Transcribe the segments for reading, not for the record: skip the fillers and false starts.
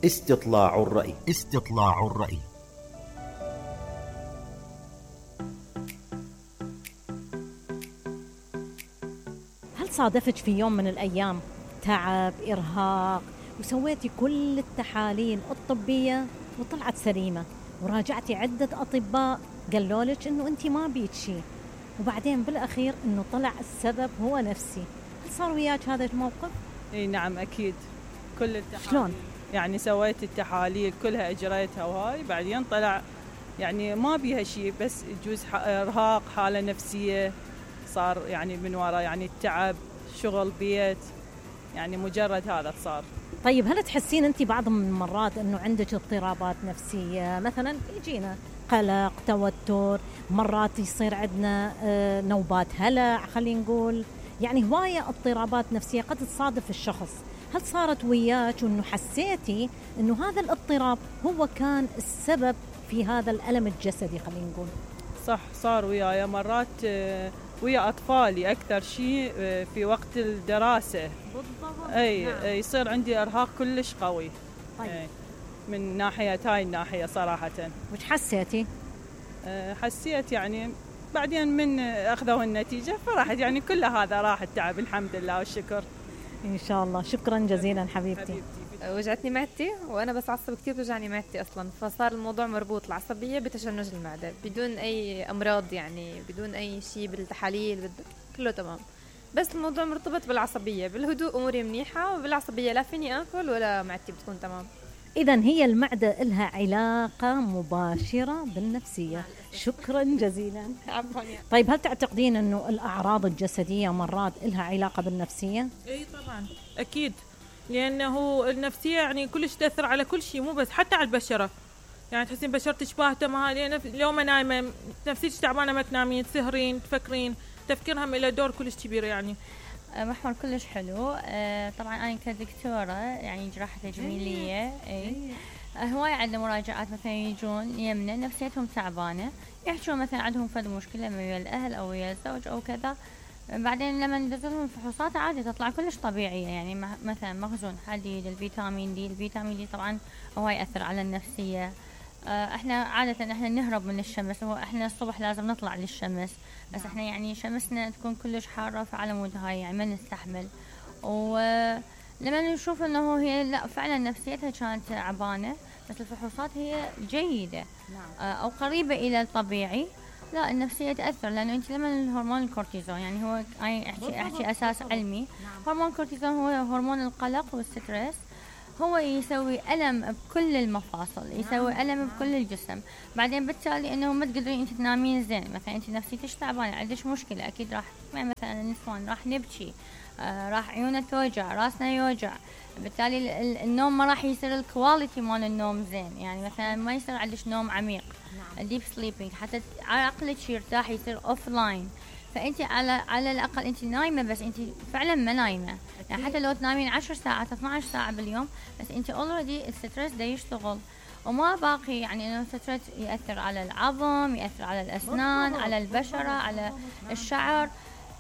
استطلاع الرأي. استطلاع الرأي. هل صادفك في يوم من الأيام تعب، إرهاق، وسويتي كل التحاليل الطبية وطلعت سليمة، وراجعتي عدة أطباء قالوا لك إنه أنت ما بيك شيء، وبعدين بالأخير إنه طلع السبب هو نفسي؟ هل صار وياك هذا الموقف؟ اي نعم اكيد. كل التحاليل شلون؟ يعني سويت التحاليل كلها اجريتها، وهاي بعدين طلع يعني ما بيها شيء، بس يجوز ارهاق، حالة نفسية صار يعني من وراء يعني التعب، شغل، بيت، يعني مجرد هذا صار. طيب هل تحسين أنت بعض من المرات إنه عندك اضطرابات نفسية؟ مثلا يجينا قلق، توتر، مرات يصير عندنا نوبات هلع، خلينا نقول يعني هواية اضطرابات نفسية قد تصادف الشخص. هل صارت وياك وإنه حسيتي إنه هذا الاضطراب هو كان السبب في هذا الألم الجسدي؟ خلينا نقول صح، صار وياي مرات ويا أطفالي أكثر شيء في وقت الدراسة. بالضبط. أي نعم. يصير عندي إرهاق كلش قوي. طيب. أي من ناحية هاي الناحية صراحة. وش حسيتي؟ حسيت يعني بعدين من أخذوا النتيجة فرحت، يعني كل هذا راح التعب الحمد لله والشكر. إن شاء الله. شكرا جزيلا حبيبتي. وجعتني معدتي وأنا بس عصب كتير توجعني معدتي أصلا، فصار الموضوع مربوط العصبية بتشنج المعدة بدون أي أمراض، يعني بدون أي شيء بالتحاليل كله تمام، بس الموضوع مرتبط بالعصبية. بالهدوء أموري منيحة، وبالعصبية لا فيني أكل ولا معدتي بتكون تمام. إذن هي المعدة إلها علاقة مباشرة بالنفسية. شكرا جزيلا. طيب هل تعتقدين أنه الأعراض الجسدية مرات إلها علاقة بالنفسية؟ اي طبعا اكيد، لانه النفسيه يعني كلش تاثر على كل شيء، مو بس حتى على البشره. يعني تحسين بشرتك باهته، ما اليوم نايمه نفسيتك تعبانه، ما تنامين، تسهرين، تفكرين، تفكيرهم له دور كلش كبير. يعني محور كلش حلو. طبعا أنا كدكتورة يعني جراحة تجميلية، هواي عندنا مراجعات مثلا يجون يمنا نفسيتهم تعبانة، يحكوا مثلا عندهم فد مشكلة ويا الأهل أو ويا الزوج أو كذا، بعدين لما ندزلهم فحوصات عادي تطلع كلش طبيعية. يعني مثلا مخزون حديد، الفيتامين دي طبعا هو يأثر على النفسية. احنا عادة احنا نهرب من الشمس، احنا الصبح لازم نطلع للشمس، بس احنا يعني شمسنا تكون كلش حارة، فعلى مود هاي يعني ما نستحمل. ولما نشوف انه هي لا فعلا نفسيتها كانت تعبانة، بس الفحوصات هي جيدة او قريبة الى الطبيعي، لا النفسية تأثر. لأنه أنت لما الهرمون الكورتيزون، يعني هو أحكي أساس علمي، هرمون الكورتيزون هو هرمون القلق والستريس، هو يسوي ألم بكل المفاصل، يسوي ألم بكل الجسم. بعدين بالتالي إنه ما تقدرين أنت تنامين زين، مثلا أنت نفسيتك تعبانة، عندك مشكلة، أكيد راح مثلا النسوان راح نبكي، راح عيوننا توجع، راسنا يوجع، بالتالي النوم ما راح يصير الكواليتي مال النوم زين. يعني مثلا ما يصير عندك نوم عميق، الديب سليبينج، حتى عقلك يرتاح، يصير اوف لاين. فانت على الاقل انت نايمه، بس انت فعلا ما نايمه. يعني حتى لو تنامين 10 ساعات 12 ساعه باليوم، بس انت اوريدي الستريس ده يشتغل، وما باقي يعني انه الستريس ياثر على العظم، ياثر على الاسنان، على البشره، على الشعر.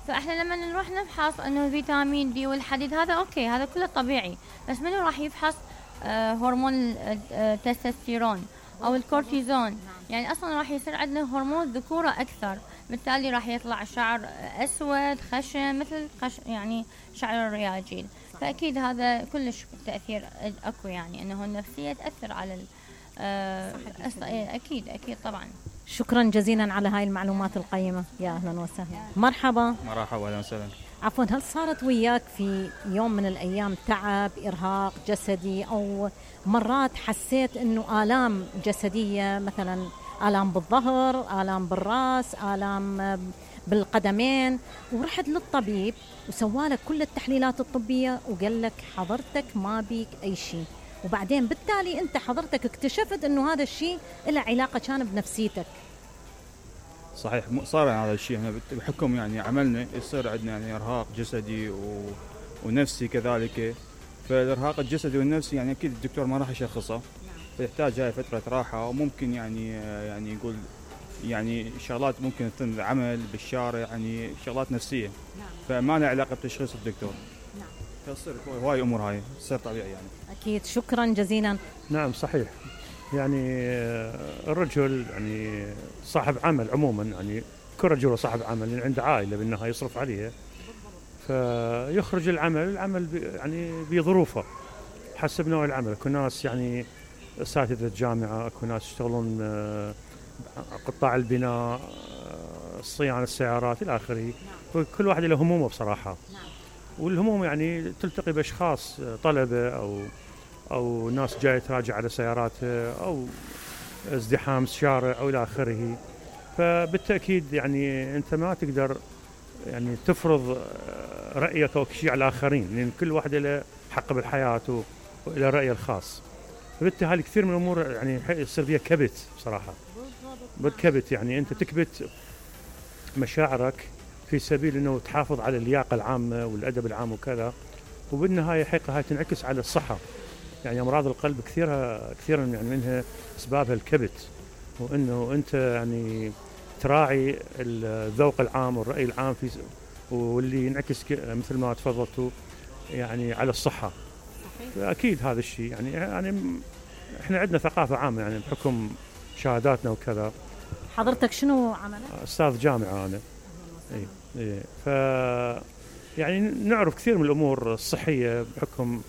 فاحنا لما نروح نفحص انه فيتامين دي والحديد هذا اوكي، هذا كله طبيعي، بس منو راح يفحص هرمون التستوستيرون او الكورتيزون؟ يعني اصلا راح يصير عندنا هرمون ذكوره اكثر، بالتالي راح يطلع شعر اسود خشن مثل يعني شعر الرياجيل. فاكيد هذا كلش تاثير اكو، يعني انه النفسيه تاثر على اكيد طبعا. شكرا جزيلا على هاي المعلومات القيمة. يا أهلا وسهلا. مرحبا. مرحبا، أهلا وسهلا. عفوا، هل صارت وياك في يوم من الأيام تعب، إرهاق جسدي، أو مرات حسيت أنه آلام جسدية، مثلا آلام بالظهر، آلام بالرأس، آلام بالقدمين، ورحت للطبيب وسوالك كل التحليلات الطبية وقال لك حضرتك ما بيك أي شيء، وبعدين بالتالي أنت حضرتك اكتشفت أنه هذا الشيء له علاقة كان بنفسيتك؟ صحيح، صار يعني هذا الشيء احنا بحكم يعني عملنا يصير عندنا يعني ارهاق جسدي ونفسي كذلك. فالارهاق الجسدي والنفسي يعني اكيد الدكتور ما راح يشخصه، فيحتاج هاي فترة راحة، وممكن يعني يقول يعني شغلات ممكن تكون العمل بالشارع، يعني شغلات نفسية، فما لها علاقة بتشخيص الدكتور. فتصير هواي امور هاي تصير طبيعي يعني. أكيد، شكرا جزيلا. نعم صحيح، يعني الرجل يعني صاحب عمل عموما، يعني كل رجل صاحب عمل يعني عنده عائلة بالنهاية يصرف عليها، فيخرج العمل يعني بظروفه حسب نوع العمل. اكو ناس يعني اساتذة جامعة، اكو ناس يشتغلون قطاع البناء، صيانة السيارات الى اخره، فكل واحد له همومه بصراحة. والهموم يعني تلتقي باشخاص طلبة او ناس جايه تراجع على سياراتها او ازدحام الشارع او الى اخره. فبالتاكيد يعني انت ما تقدر يعني تفرض رايك او شيء على الاخرين، لان كل واحد له حق بالحياه وله رايه الخاص. فبالتالي كثير من الامور يعني يصير فيها كبت بصراحه، بالكبت يعني انت تكبت مشاعرك في سبيل انه تحافظ على اللياقه العامه والادب العام وكذا، وبالنهايه حقيقه هاي تنعكس على الصحه. يعني امراض القلب كثيرا يعني منها اسبابها الكبت، وانه انت يعني تراعي الذوق العام والراي العام في واللي ينعكس مثل ما تفضلتوا يعني على الصحه. اكيد هذا الشيء يعني احنا عندنا ثقافه عامه يعني بحكم شهاداتنا وكذا. حضرتك شنو عملك؟ استاذ جامعه انا. اي ف يعني نعرف كثير من الامور الصحيه بحكم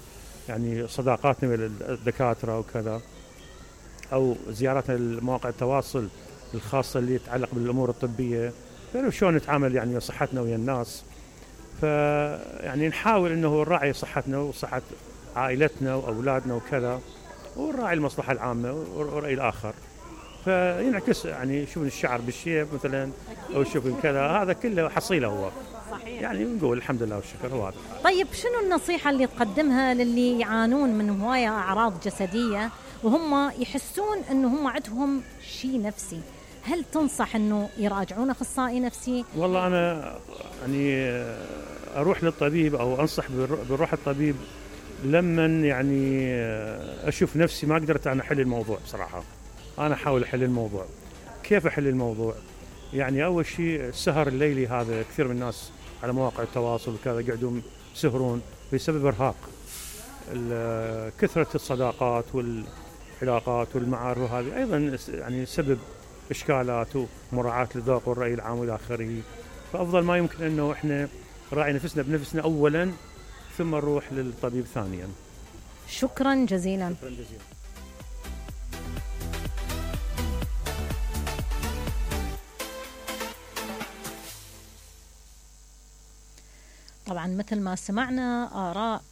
يعني صداقاتنا بالدكاتره وكذا، او زياراتنا لمواقع التواصل الخاصه اللي تتعلق بالامور الطبيه، نعرف شلون نتعامل يعني صحتنا ويا الناس. فيعني نحاول انه نراعي صحتنا وصحه عائلتنا واولادنا وكذا، ونراعي المصلحه العامه ورأي الاخر. فينعكس يعني شوف الشعر بالشيب مثلا او شوف كذا، هذا كله حصيله هو. صحيح. يعني نقول الحمد لله والشكر هو هذا. طيب شنو النصيحة اللي تقدمها للي يعانون من هواية أعراض جسدية وهم يحسون أنه هم عندهم شيء نفسي؟ هل تنصح أنه يراجعون أخصائي نفسي؟ والله أنا يعني أروح للطبيب أو أنصح بروح الطبيب لما يعني أشوف نفسي ما قدرت أنا أحل الموضوع. بصراحة أنا أحاول أحل الموضوع. كيف أحل الموضوع؟ يعني أول شيء السهر الليلي، هذا كثير من الناس على مواقع التواصل وكذا قاعدون يسهرون بسبب إرهاق. كثرة الصداقات والعلاقات والمعارف وهذه أيضا يعني سبب إشكالات ومراعاة للذوق والرأي العام والى آخره. فأفضل ما يمكن أنه إحنا نراعي نفسنا بنفسنا أولا ثم نروح للطبيب ثانيا. شكرا جزيلا. شكرا جزيلا. طبعا مثل ما سمعنا آراء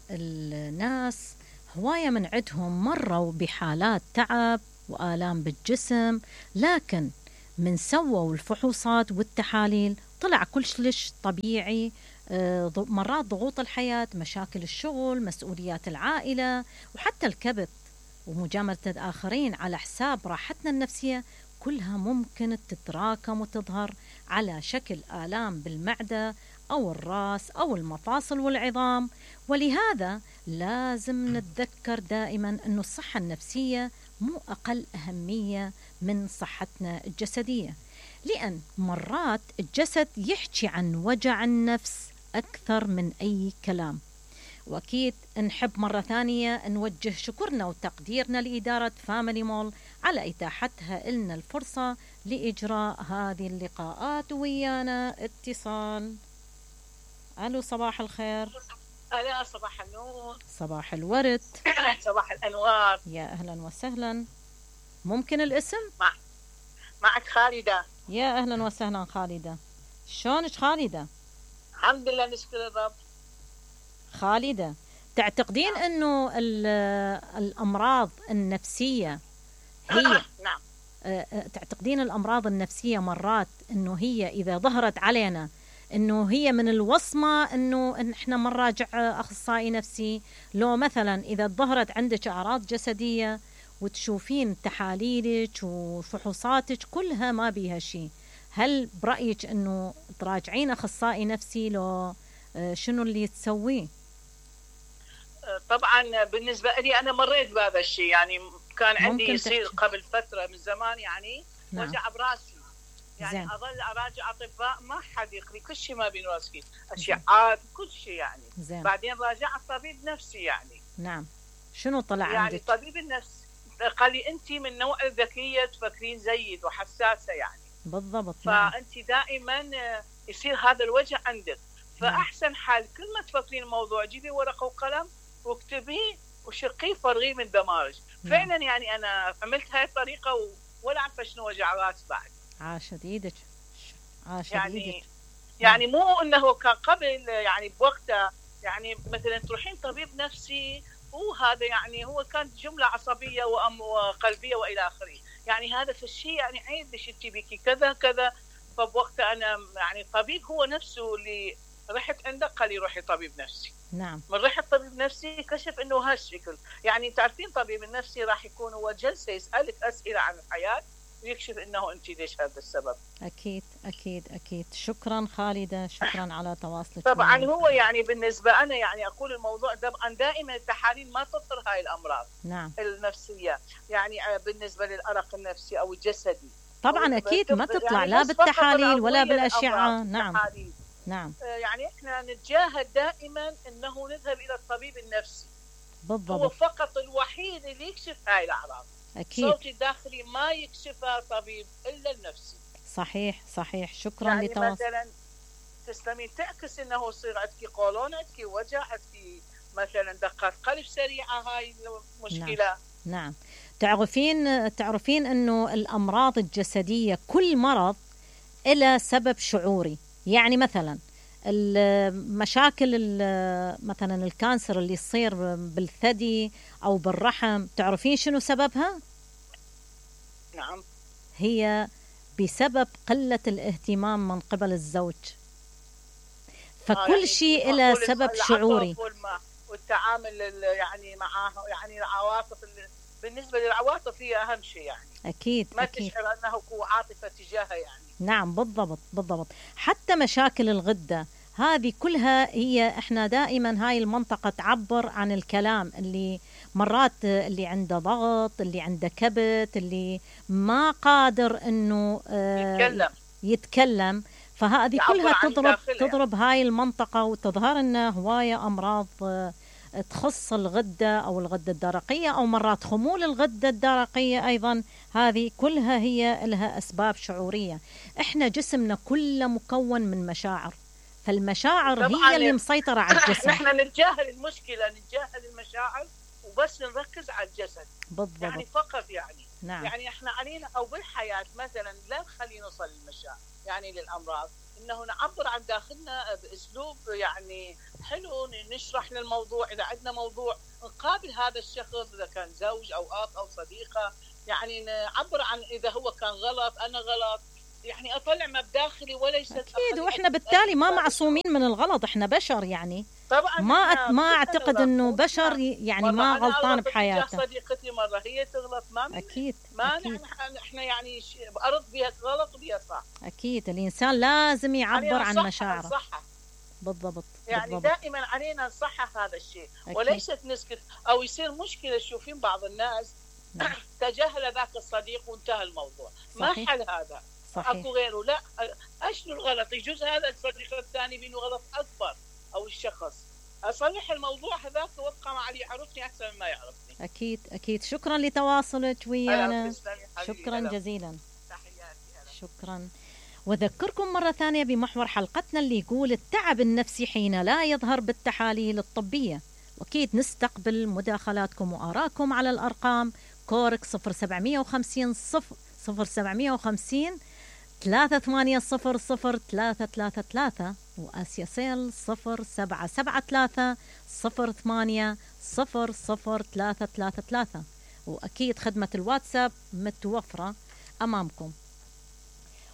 الناس، هواية من عندهم مروا بحالات تعب وآلام بالجسم، لكن من سووا الفحوصات والتحاليل طلع كلش طبيعي. مرات ضغوط الحياة، مشاكل الشغل، مسؤوليات العائلة، وحتى الكبت ومجاملة الآخرين على حساب راحتنا النفسية، كلها ممكن تتراكم وتظهر على شكل آلام بالمعدة أو الرأس أو المفاصل والعظام. ولهذا لازم نتذكر دائما أن الصحة النفسية مو أقل أهمية من صحتنا الجسدية، لأن مرات الجسد يحكي عن وجع النفس أكثر من أي كلام. وأكيد نحب مرة ثانية نوجه شكرنا وتقديرنا لإدارة فاميلي مول على إتاحتها لنا الفرصة لإجراء هذه اللقاءات ويانا. اتصال. ألو، صباح الخير. ألا صباح النور. صباح الورد. صباح الأنوار. يا أهلا وسهلا. ممكن الاسم؟ معك خالدة. يا أهلا وسهلا خالدة. شلونك خالدة؟ الحمد لله نشكر الرب. خالدة، تعتقدين أنه الأمراض النفسية هي نعم. تعتقدين الأمراض النفسية مرات أنه هي إذا ظهرت علينا أنه هي من الوصمة أنه إحنا ما نراجع أخصائي نفسي؟ لو مثلا إذا ظهرت عندك أعراض جسدية وتشوفين تحاليلك وفحوصاتك كلها ما بيها شيء، هل برأيك أنه تراجعين أخصائي نفسي؟ لو شنو اللي تسويه؟ طبعا بالنسبة لي أنا مريت بهذا الشيء، يعني كان عندي يصير قبل فترة من زمان يعني. نعم. وجع براسي. يعني زين. اظل اراجع اطباء ما حد يقري كل شيء ما بين راسي، اشعاعات كل شيء يعني. زين. بعدين راجعت طبيب نفسي يعني. نعم. شنو طلع يعني عندك؟ طبيب النفس قال لي انت من نوع الذكيه تفكرين زيد وحساسه يعني. بالضبط. نعم. فانت دائما يصير هذا الوجع عندك، فاحسن حال كل ما تفكرين الموضوع جيبي ورقه وقلم واكتبيه وشقيه فرغيه من دماغك. فعلا يعني انا عملت هاي الطريقه ولا عارفه شنو وجع راس بعد. عاشت ايدك. عاشت يعني ايدك. يعني مو انه كان قبل يعني بوقتها يعني مثلا تروحين طبيب نفسي وهذا يعني هو كانت جمله عصبيه وقلبيه والى اخره، يعني هذا في الشيء يعني عيب ليش انت بيكي كذا كذا. فبوقتها انا يعني الطبيب هو نفسه اللي رحت عنده قال لي روحي طبيب نفسي. نعم. من رحت طبيب نفسي كشف انه هالشكل، يعني تعرفين طبيب النفسي راح يكون هو جلسه يسالك اسئله عن الحياه ويكشف انه انت ليش هذا السبب. اكيد اكيد اكيد. شكرا خالده، شكرا على تواصلك. طبعا هو يعني بالنسبه انا يعني اقول الموضوع طبعا دائما التحاليل ما تظهر هاي الامراض. نعم. النفسيه يعني بالنسبه للارق النفسي او الجسدي طبعا اكيد ما تطلع يعني لا بالتحاليل ولا بالاشعه. نعم. نعم. يعني احنا نتجاهل دائما انه نذهب الى الطبيب النفسي. بالضبط. هو فقط الوحيد اللي يكشف هاي الاعراض. اكيد. صوتي الداخلي ما يكشفها طبيب الا النفسي. صحيح صحيح. شكرا يعني لتواصل. مثلا تسلمين تعكس انه يصير عندك قولون، عندك وجع، عندك مثلا دقات قلب سريعه، هاي المشكله. نعم. تعرفين انه الامراض الجسديه كل مرض له سبب شعوري. يعني مثلا المشاكل مثلا الكانسر اللي يصير بالثدي او بالرحم، تعرفين شنو سببها؟ نعم. هي بسبب قله الاهتمام من قبل الزوج. فكل يعني شيء له سبب شعوري والتعامل يعني معاه، يعني العواطف بالنسبه للعواطف هي اهم شيء يعني. اكيد. ما أكيد. تشعر انه عاطفه تجاهها يعني. نعم بالضبط بالضبط. حتى مشاكل الغده هذه كلها هي احنا دائما هاي المنطقه تعبر عن الكلام اللي مرات اللي عنده ضغط، اللي عنده كبت، اللي ما قادر انه يتكلم. فهذه كلها تضرب هاي المنطقه وتظهر لنا هوايه امراض تخص الغده او الغده الدرقيه، او مرات خمول الغده الدرقيه ايضا. هذه كلها هي لها اسباب شعوريه. احنا جسمنا كله مكون من مشاعر، فالمشاعر هي اللي مسيطره على الجسم. نحن نتجاهل المشكله، نتجاهل المشاعر وبس نركز على الجسد. بالضبط. يعني فقط يعني. نعم. يعني احنا علينا او بالحياه مثلا لا نخلي نوصل للمشاعر يعني للامراض، انه نعبر عن داخلنا باسلوب يعني حلو، نشرح للموضوع. اذا عندنا موضوع نقابل هذا الشخص، اذا كان زوج او اب او صديقه، يعني نعبر عن اذا هو كان غلط انا غلط، يعني اطلع ما بداخلي وليس اكيد. واحنا بالتالي ما معصومين من الغلط، احنا بشر يعني. طبعا ما اعتقد انه بشر يعني ما غلطان بحياته. صديقتي مره هي تغلط، ما اكيد. ما أكيد. احنا يعني ارد بها غلط وبها صح. اكيد. الانسان لازم يعبر عن مشاعره. بالضبط. يعني بالضبط. دائما علينا نصحح هذا الشيء. أكيد. وليست نسكت او يصير مشكله. تشوفين بعض الناس تجاهل ذاك الصديق وانتهى الموضوع. صحيح. ما حل هذا. صحيح. اكو غيره. لا، اشنو الغلط؟ يجوز هذا الصديق الثاني بينه غلط اكبر، او الشخص اصلح الموضوع هذاك وابقى مع اللي يعرفني احسن مما يعرفني. اكيد اكيد. شكرا لتواصلك ويانا. شكرا جزيلا. شكرا. وذكركم مرة ثانية بمحور حلقتنا اللي يقول التعب النفسي حين لا يظهر بالتحاليل الطبية. وأكيد نستقبل مداخلاتكم وآراءكم على الأرقام كورك 0750 0750 380 333 وآسيا سيل 0773 08 00333. وأكيد خدمة الواتساب متوفرة أمامكم.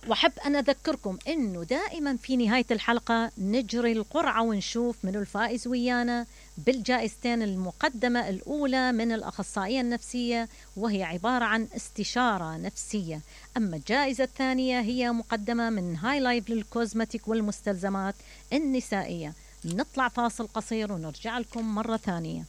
وحب أن أذكركم أنه دائما في نهاية الحلقة نجري القرعة ونشوف من الفائز ويانا بالجائزتين. المقدمة الأولى من الأخصائية النفسية وهي عبارة عن استشارة نفسية، أما الجائزة الثانية هي مقدمة من هاي لايف للكوزمتيك والمستلزمات النسائية. نطلع فاصل قصير ونرجع لكم مرة ثانية.